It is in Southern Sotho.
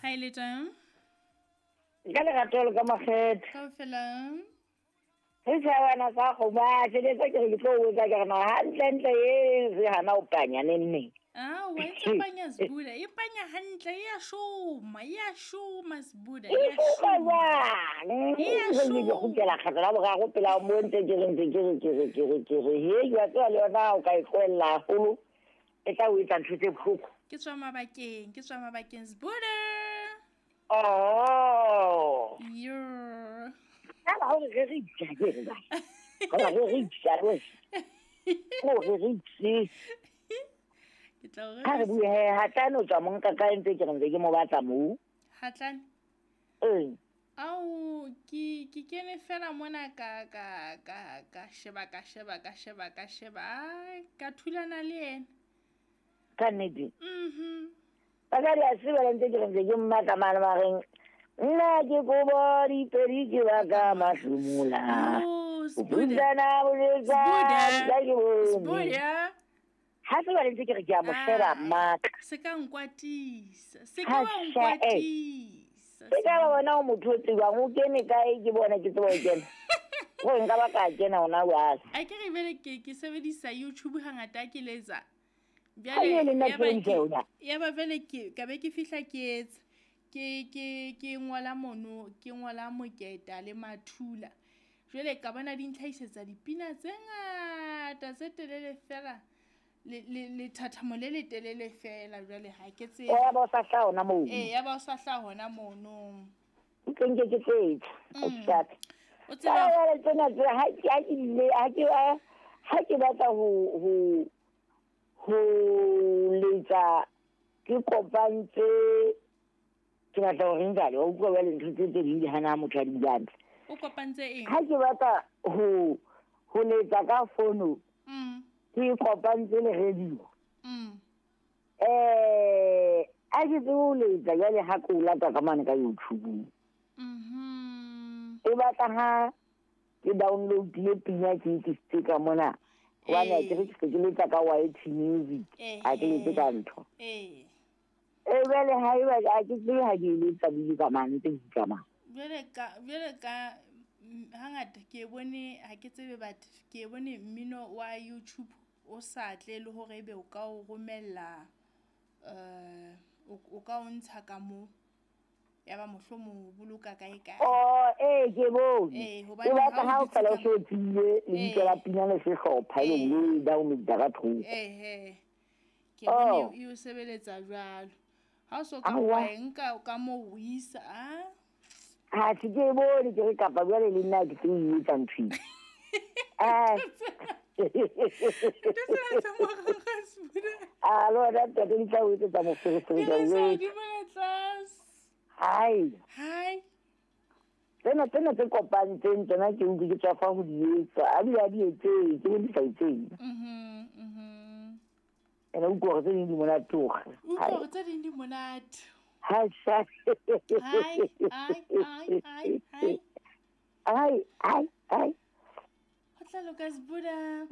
Ha ile tang? Ka lerato le ka makgetho. Kaofela. Re tshwana sa go ba tshebetsa ke re ke tlo botsa ke re na hantlentle e se hana o panya neng. Ah, wa itse panya Sbuda. E panya hantle ya shoma, ya shoma Sbuda. E shoma jwang? E ya Ke shoma. kgutlela kgetlo la boraro pela mo ntse ke re ntse ke re ke re ke re ke re he wa tseba le yona o ka e tlohella haholo e tla o etsa ntho tse bohloko. Ke tswa mabakeng, ke tswa mabakeng Sbuda. Oh. Yo. Ka hore re re itja ke re ba. Ka re re itja re. Ko re re itse. Ke tla o Ha re bue he hatlane o tswa mo nka kae ntse ke re ntse ke mo batla moo. Hatlane. Ee. Ao ke kene fela mona ka ka ka ka sheba ka sheba ka sheba ka sheba ai ka thulana le yena. Ka nnete. Mhm. Basadi a tseba ntse ke re ntse ke mmatla mane mareng. Nna ke kobo dipedi ke baka mahlomola. Oh, O Sbuda. butsana boletsa Sbuda. ka ke bone. Sbuda. Ha se ba ntse ke re ke a mo sheba maka. Se ka nkwatisa. Se Ha ka wa sha, eh. nkwatisa. Ke ka ba bona o motho o tsebang o kene kae ke bona ke tseba ho kena. Gore nka ba ka kena hona jwale. A ke re bele ke sebedisa YouTube hangata ke letsa. Ha e le nna ya ba ke ntse yona. ya ba vele ke ka be ke fihla ke etsa ke ngola mono ke ngola moketa le mathula. Jwale ka bona di ntlhahisetsa dipina tse ngata tse telele fela le thathamo le le telele fela jwale ha ke tsebe. O ya ba o sa hlaha hona moo. Eh ya ba o sa hlaha hona mono. Ke nke ke tsetsa. O sharp. O tseba Tsena tsena tse ha ke ha ke ile ha ke ha ke batla ho ho letsa ke kopantse ke batla ho reng jwale wa utlwa jwale ntho tse tse ding di hana motho a di buang. O kopantse eng? Ha ke batla ho letsa ka fono ke kopantse le radio. A ke tsebe ho letsa jwale ha ke o lata ka mane ka YouTube. E batla ha ke download-ile pina ke e tlisitse ka mona. Hobane ke re ke se ke letsa ka YT Music. Ha ke letse ka ntho. Eh. E jwale ha eba ha ke tsebe ha ke e letsa bile ka mane tse di tsamaya. Jwale ka hangata ke bone ha ke tsebe but ke bone mmino wa YouTube o sa tle le hore ebe o ka o romella o ka o ntsha ka mo ya ba mohlomong o boloka kae kae. Oh eh ke bone. Eh hobane E batla ha o dutse fela o ka se o tsebile lebitso la pina le sehlopha e le download ka thoko. Eh ke bone e o sebeletsa jwalo. Ha o so ka Aowa. wa nka ka mo o isa a Ha se ke bone ke re kapa jwale le nna ke tlo e etsa ntho e. Ah. Ntho tsena tsa morara Sbuda. Ah, le wena ntate di tla o etsetsa moferefere Di ka re o sa etsa. hodimo le tlase. Hai. Hai. Tsena tsena tse kopantseng tsena ke utlwe ke tswa fa ho di etsa. A di a di etse, ke bone di sa etseng. Ene o utlwa hore tse ding di monate hore. Utlwa hore tse ding di monate. Hai, sha. Hai, ai, ai, ai, ai. Ai, ai, ai. Ho tla loka Sbuda.